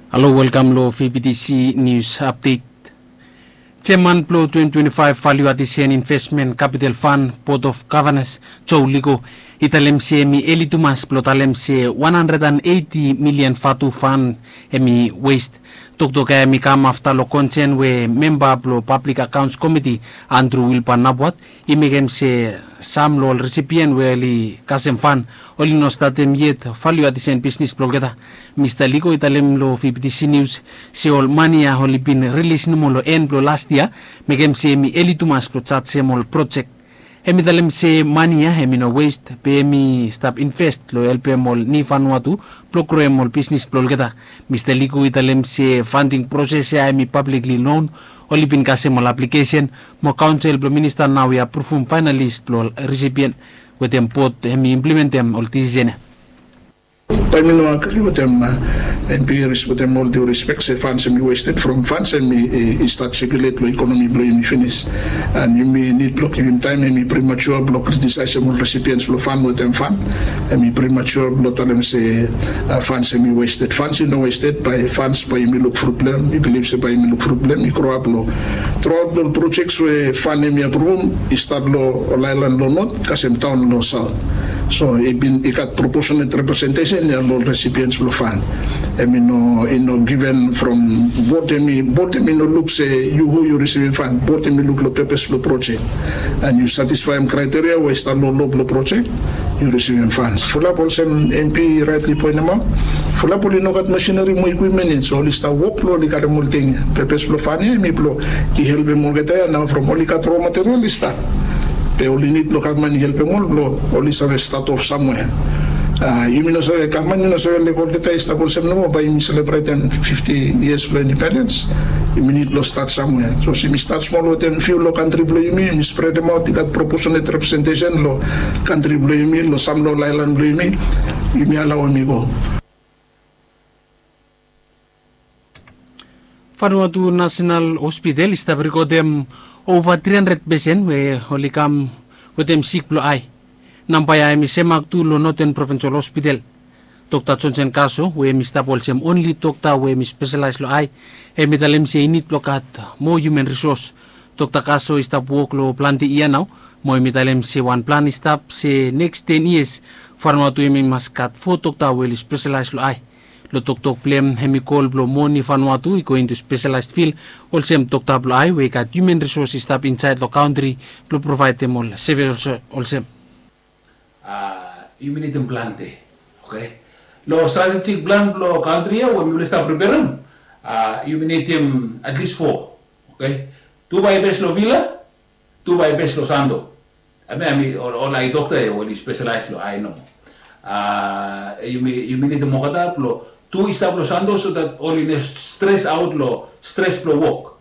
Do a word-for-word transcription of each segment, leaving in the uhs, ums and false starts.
Halo, welkam lo V B T C News Update. Jeaman blo twenty twenty-five Value Addition Investment Capital Fund Board of Governors, Joe Liko, i talem se hemi eli tumas blo talem se one hundred and eighty million vatu fund hemi waste. Toktok ia hemi kam afta lo konsen we memba blo Public Accounts Committee, Andrew Wilbur Nabwat, i mekem se sam lo ol recipient we oli kasem fund oli no statem yet value addition bisnis blo olgeta. Mista Liko i talem lo V B T C News se ol mane ia oli bin rilis nomo lo en blo las yia, mekem se hemi eli tumas blo jajem ol projek. Hemi talem se mane ia hemi no west, be hemi stap invest lo helpem ol Ni Vanuatu blo groem ol bisnis blo olgeta. Mista Liko i talem se funding proses ia hemi publicly known, oli bin kasem ol aplikesen, mo kaonsel blo minista nao i apruvum faenalis blo ol risipien, wetem bod hemi implementem ol disisen ia. Bae mi no agri wetem MP Harris, wetem ol due respect, se funds hemi wasted from funds hemi i stat sikulet lo ekonomi blo yumi finis. And yumi nid blo givim taem, hemi premature blo kritisaesem ol recipients blo fund wetem fund. Hemi premature blo talem se funds hemi wasted. Funds i no wasted. Bae funds bae yumi luk problem, mi bilif se bae yumi luk problem i groap lo truaot lo ol projects we fund hemi apruvum i stat lo ol aelan lo not kasem taon lo saot. So i bin i gat proportionate representation ia lo ol recipients blo fund. Hemi no i no given from bod hemi, bod hemi no luk se yu hu yu risivim fund. Bod hemi luk lo pepes blo projek. And yu satisfaem kraeteria we i stap lo lo blo projek, yu risivim fund. Fulap olsem MP raetli poenemaot, fulap oli no gat masineri mo ekwipmen yet, so oli stap wok blo oli karem ol ting ia. Pepes blo fund ia hemi blo i helpem olgeta ia nao from oli gat raw material i stap. Be oli nid blo gavman i helpem ol blo oli save stat of samwea. Yumi no save, gavman i no save lego olgeta i stap olsem nomo bae yumi selebretem fifti yias blo indipendens. Yumi nid blo stat samwea. Sapos yumi stat smol wetem fiu lo kantri blo yumi, yumi spredemaot, i gat proportionate representation lo kantri blo yumi lo sam lo ol aelan blo yumi, yumi alaoem i go. Vanuatu National Hospital i stap rikodem ova tri handred pesen we oli kam wetem sik blo ae. Namba ia hemi semak tu lo Northern Provincial Hospital. Dokta Johnson Kaso, we hemi stap olsem onli dokta we hemi speselaes lo ae, hemi talem se i nid blo gat moa human resource. Dokta Kaso i stap wok lo plante yia nao, mo hemi talem se wan plan i stap se neks ten yias Vanuatu hemi mas gat fo dokta we oli speselaes lo ae. Lo toktok blem hemi gol blo moa Ni Vanuatu i go into specialized field olsem dokta blo ae we i gat human resource i stap insaed lo kantri blo provaedem ol sevis olsem. Yumi nidim plante. Oke. Lo strategic plan blo kantri ia we mifala i stap preperem, yumi nidim at least fo. Oke. Tu bae i bes lo Vila, tu bae i bes lo Santo. Hemia hemi ol ae dokta ia we oli speselaes lo ae nomo. Yumi nidim olgeta blo tu i stap lo Santo so that oli no stres aot lo stres blo wok.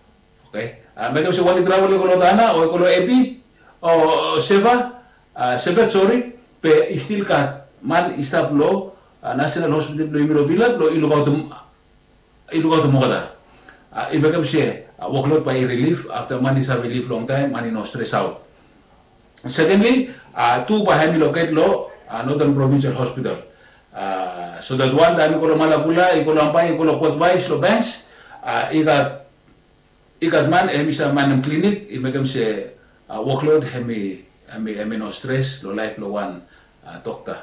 Oke. Mekem se wan i travel i go lo Tana o i go lo Epi o Seva, Sebet, sori, be i stil gat man i stap lo National Hospital blo yumi lo Vila blo i lukaotem i lukaotem olgeta. I mekem se woklod bae i rilif afta man i save lif longtaem, man i no stres aot. Sekendli, tu bae hemi loket lo Northern Provincial Hospital. So that wan taem i go lo Malakula, i go lo Ambae, i go lo Port Vaish lo Banks, i gat i gat man hemi save manem klinik, i mekem se woklod hemi hemi no stres lo laef blo wan dokta.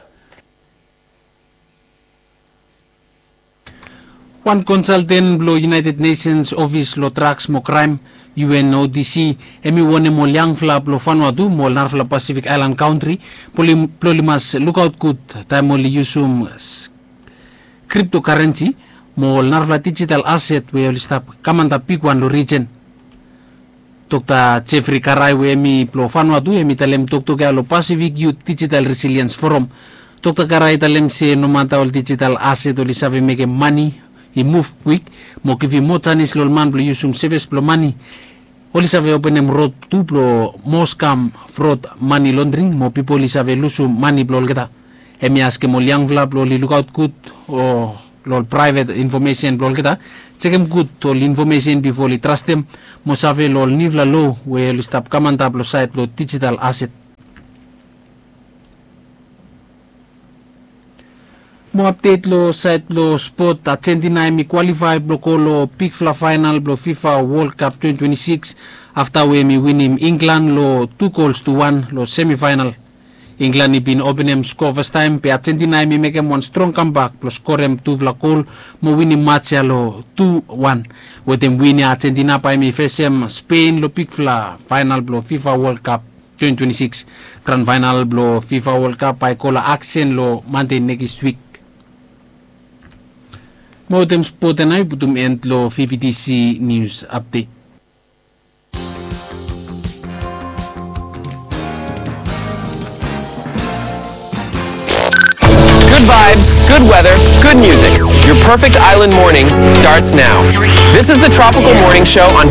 Wan konsalten blo United Nations Office lo Drugs mo Kraem, U N O D C, hemi wonem ol yangfala blo Vanuatu mo ol narafala Pasifik aelan kantri blo oli mas lukaot gud taem oli yusum kriptokarensi mo ol narafala dijital aset we oli stap kam antap bigwan lo rijen. Dokta Jeffrey Karai we hemi blo Vanuatu hemi talem toktok ia lo Pacific Youth Digital Resilience Forum. Dokta Karai i talem se nomata ol dijital aset oli save mekem mane i muv kwik mo givim moa janis lo ol man blo yusum sevis blo mane, oli save openem rod tu blo moa skam, frod, mane londring mo pipol i save lusum mane blo olgeta. Hemi askem ol yangfala blo oli lukaot gud lo ol praevet infomesen blo olgeta, jekem gud ol infomesen bifo oli trastem mo save lo ol niufala lo we oli stap kam antap lo saed blo dijital aset. Mo apdet long saed blong spot, Argentina hem i kwalifae blong go long bigfala faenal blong fifa World Cup twenty twenty six afta we hem i winim Inglan long tu gols tu wan long semifaenal. Inglan i bin openem skoa fastaem be Argentina hem i mekem wan strong kambak blong skorem tufala gol mo winim maj ya long tu wan. Wetem win ya Argentina bae hem i fesem Spen long bigfala faenal blong fifa World Cup twenty twenty six. Gran faenal blong fifa World Cup bae i go long aksen long Mande nekis wik. Mo wetem spot ya nao i putum en long vbtc nius apdet. Good vibes, good weather, good music. Your perfect island morning starts now. This is the Tropical Morning Show on